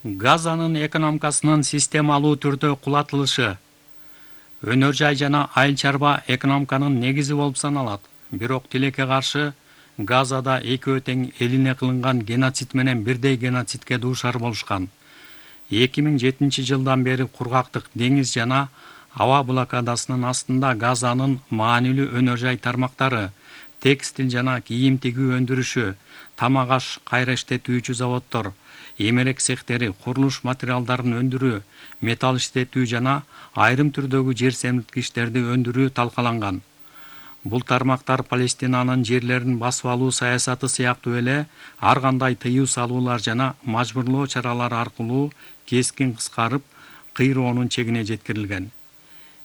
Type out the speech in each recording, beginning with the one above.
Газанын экономикасынын системалуу түрдө кулатылышы. Өнөр жай жана айыл чарба экономиканын негизи болуп саналат. Бирок тилекке каршы Газада экөө тең элине кылынган геноцид менен бирдей геноцидке дуушар болушкан. 2007-жылдан бери кургактык деңиз жана аба блокадасынын астында Газанын маанилүү өнөр жай тармактары, текстил жана кийим тигүү өндүрүшү, тамак аш кайра иштетүүчү заводдор, эмерек цехтери, курулуш материалдарын өндүрүү, металл иштетүү жана айрым түрдөгү жер семирткичтерди өндүрүү талкаланган. Бул тармактар Палестинанын жерлерин басып алуу саясаты сыяктуу эле ар кандай тыюу салуулар жана мажбурлоо чаралары аркылуу кескин кыскарып, кыйроонун чегине жеткирилген.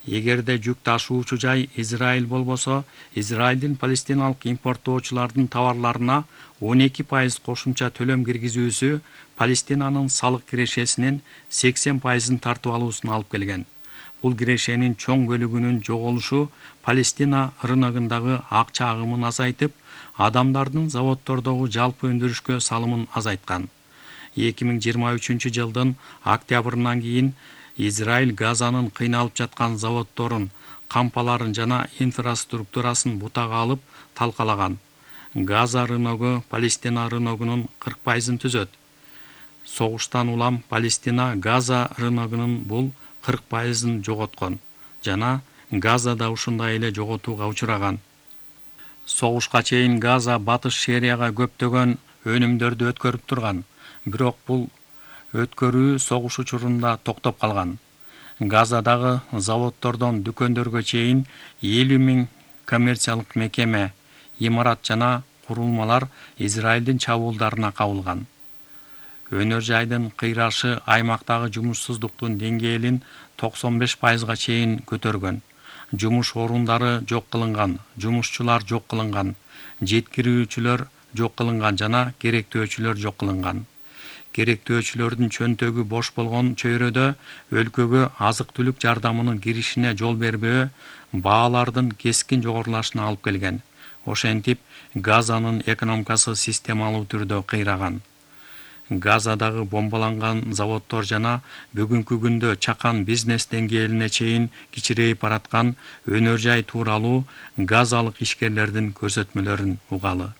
Эгерде жүк ташуучу жай Израиль болбосо, Израилдин палестиналык импорттоочулардын товарларына 12% кошумча төлөм киргизүүсү Палестинанын салык кирешесинин 80%-ын тартып алуусуна алып келген. Бул кирешенин чоң бөлүгүнүн жоголушу Палестина рыногундагы акча агымын азайтып, адамдардын заводдордогу жалпы өндүрүшкө салымын азайткан. 2023-жылдын октябрынан кийин Израиль Газанын кыйналып жаткан заводдорун, кампаларын жана инфраструктурасын бутага алып талкалаган. Газа рыногу Палестина рыногунун 40%-ын түзөт. Согуштан улам Палестина Газа рыногунун бул 40%-ын жоготкон жана Газада ушундай эле жоготууга учураган. Согушка чейин Газа батыш Сирияга көптөгөн өнүмдөрдү өткөрүп турган, бирок бул өткөрүү согуш учурунда токтоп калган. Газадагы заводдордон дүкөндөргө чейин 50 000 коммерциялык мекеме, имарат жана курулмалар Израилдин чабуулдарына кабылган. Өнөр жайдын кыйрашы аймактагы жумушсуздуктун деңгээлин 95%-га чейин көтөргөн. Жумуш орундары жок кылынган, жумушчулар жок кылынган, жеткирүүчүлөр жок кылынган жана керектөөчүлөр жок кылынган. Керектөөчүлөрдүн чөнтөгү бош болгон чөйрөдө өлкөгө азык-түлүк жардамынын киришине жол бербөө баалардын кескин жогорулашына алып келген. Ошентип, Газанын экономикасы системалуу түрдө кыйраган. Газадагы бомбаланган заводдор жана бүгүнкү күндө чакан бизнес деңгээлине чейин кичирейип бараткан өнөр жай тууралуу газалык ишкерлердин көрсөтмөлөрүн угалы.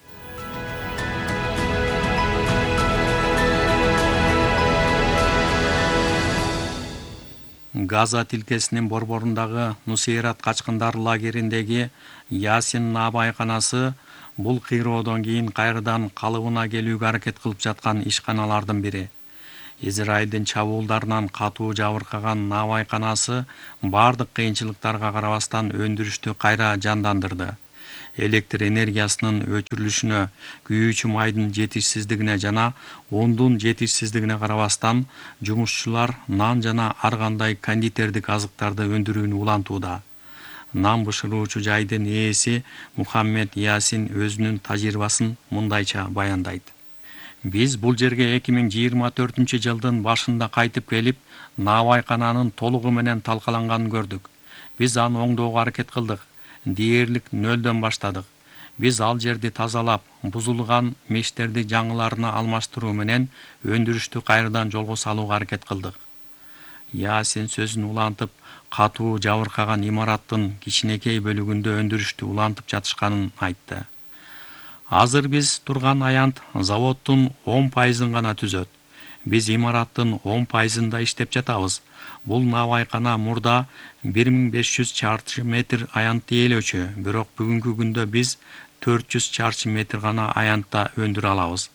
Газа тилкесинин борборундагы Нусейрат качкындар лагериндеги Ясин наабайканасы бул кыйроодон кийин кайрадан калыбына келүүгө аракет кылып жаткан ишканалардын бири. Израилдин чабуулдарынан катуу жабыркаган наабайканасы бардык кыйынчылыктарга карабастан өндүрүштү кайра жандандырды. Электр энергиясынын өчүрүлүшүнө, күйүүчү майдын жетишсиздигине жана ундун жетишсиздигине карабастан жумушчулар нан жана ар кандай кондитердик азыктарды өндүрүүнү улантууда. Нан бышыруучу жайдын ээси Мухаммед Ясин өзүнүн тажрыйбасын мындайча баяндайт. Биз бул жерге 2024-жылдын башында кайтып келип, наабайкананын толугу менен талкаланганын көрдүк. Биз аны оңдоого аракет кылдык. Дээрлик нөлдөн баштадык. Биз ал жерди тазалап, бузулган мештерди жаңыларына алмаштыруу менен өндүрүштү кайрадан жолго салууга аракет кылдык. Ясин сөзүн улантып, катуу жабыркаган имараттын кичинекей бөлүгүндө өндүрүштү улантып жатышканын айтты. Азыр биз турган аянт заводдун 10%-ын гана түзөт. Биз имараттын 10%-ында иштеп жатабыз. Бул наабайкана мурда 1500 чарчы метр аянтты ээлөөчү, бирок бүгүнкү күндө биз 400 чарчы метр гана аянтта өндүрө алабыз.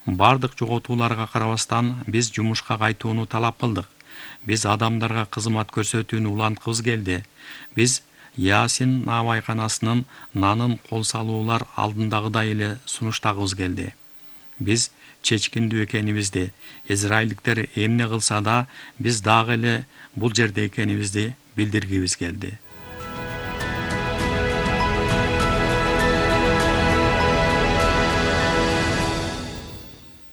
Бардык жоготууларга карабастан биз жумушка кайтууну талап кылдык. Биз адамдарга кызмат көрсөтүүнү уланткыбыз келди. Биз Ясин наабайканасынын нанын кол салуулар алдындагыдай эле сунуштагыбыз келди. Биз чечкиндүү экенибизди, израилдиктер эмне кылса да, биз дагы эле бул жерде экенибизди билдиргибиз келди.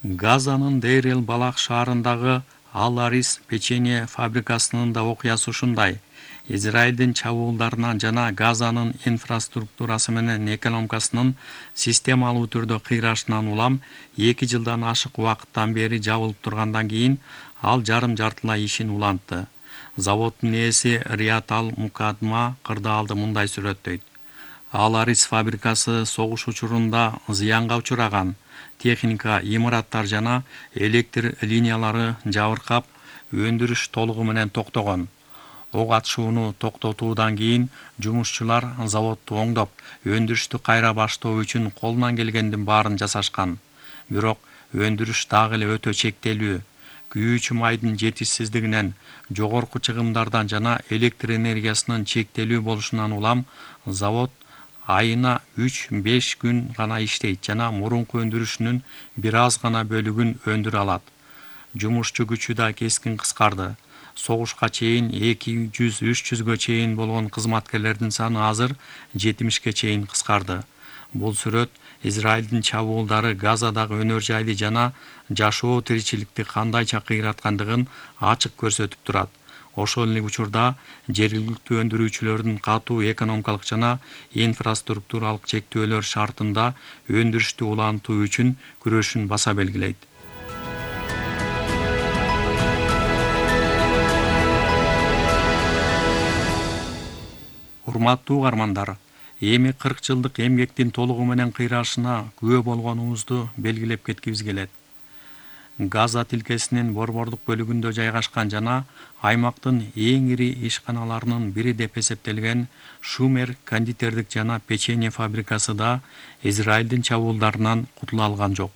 Газанын Дейр-эль-Балах шаарындагы Ал-Арис печенье фабрикасынын да окуясы ушундай. Израилдин чабуулдарынан жана Газанын инфраструктурасы менен экономикасынын системалуу түрдө кыйрашынан улам 2 жылдан ашык убакыттан бери жабылып тургандан кийин ал жарым-жартылай ишин улантты. Заводдун ээси Рият Ал-Мукадма кырдаалды мындай сүрөттөйт. Ал арис фабрикасы согуш учурунда зыянга учураган. Техника, имараттар жана электр линиялары жабыркап, өндүрүш толугу менен токтогон. Ок атышууну токтотуудан кийин жумушчулар заводду оңдоп, өндүрүштү кайра баштоо үчүн колунан келгендин баарын жасашкан. Бирок өндүрүш дагы эле өтө чектелүү. Күйүүчү майдын жетишсиздигинен, жогорку чыгымдардан жана электр энергиясынын чектелүү болушунан улам завод айына 3-5 күн гана иштейт жана мурунку өндүрүшүнүн бир аз гана бөлүгүн өндүрө алат. Жумушчу күчү да кескин кыскарды. Согушка чейин 200-300гө чейин болгон кызматкерлердин саны азыр 70ге чейин кыскарды. Бул сүрөт Израилдин чабуулдары Газадагы өнөр жайды жана жашоо тиричиликти кандайча кыйраткандыгын ачык көрсөтүп турат. Ошол эле учурда жергиликтүү өндүрүүчүлөрдүн катуу экономикалык жана инфраструктуралык чектөөлөр шартында өндүрүштү улантуу үчүн күрөшүн баса белгилейт. Урматтуу угармандар, эми 40 жылдык эмгектин толугу менен кыйрашына күбө болгонубузду белгилеп кеткибиз келет. Газа тилкесинин борбордук бөлүгүндө жайгашкан жана аймактын эң ири ишканаларынын бири деп эсептелген Шумер кондитердик жана печенье фабрикасы да Израилдин чабуулдарынан кутула алган жок.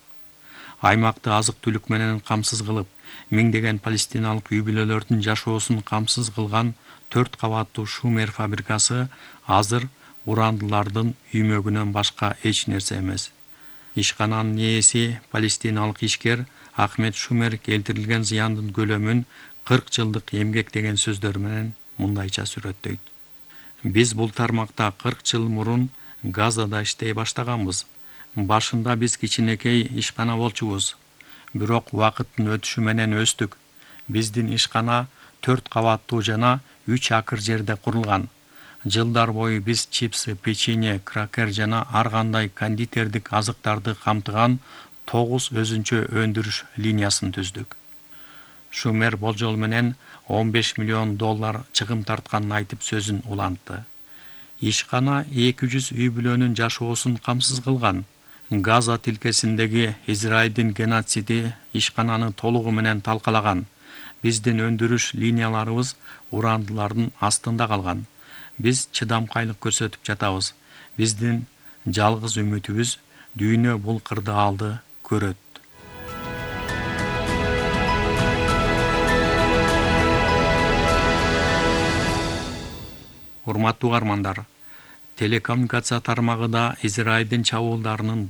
Аймакты азык-түлүк менен камсыз кылып, миңдеген палестиналык үй-бүлөлөрдүн жашоосун камсыз кылган 4 кабаттуу Шумер фабрикасы азыр урандылардын үймөгүнөн башка эч нерсе эмес. Ишкананын ээси палестиналык ишкер Ахмед Шумер келтирилген зыяндын көлөмүн 40 жылдык эмгек деген сөздөр менен мындайча сүрөттөйт. Биз бул тармакта 40 жыл мурун Газада иштей баштаганбыз. Башында биз кичинекей ишкана болчубуз. Бирок убакыттын өтүшү менен өстүк. Биздин ишкана 4 кабаттуу жана 3 акр жерде курулган. Жылдар бою биз чипсы, печенье, кракер жана ар кандай кондитердик азыктарды камтыган 9 өзүнчө өндүрүш линиясын түздүк. Шумер болжол менен $15 миллион чыгым тартканын айтып сөзүн улантты. Ишкана 200 үй-бүлөнүн жашоосун камсыз кылган. Газа тилкесиндеги Израилдин геноциди ишкананы толугу менен талкалаган. Биздин өндүрүш линияларыбыз урандылардын астында калган. Биз чыдамкайлык көрсөтүп жатабыз. Биздин жалгыз үмүтүбүз дүйнө бул кырдаалды көрөт. Урматтуу угармандар, телекоммуникация тармагы да Израилдин чабуулдарынын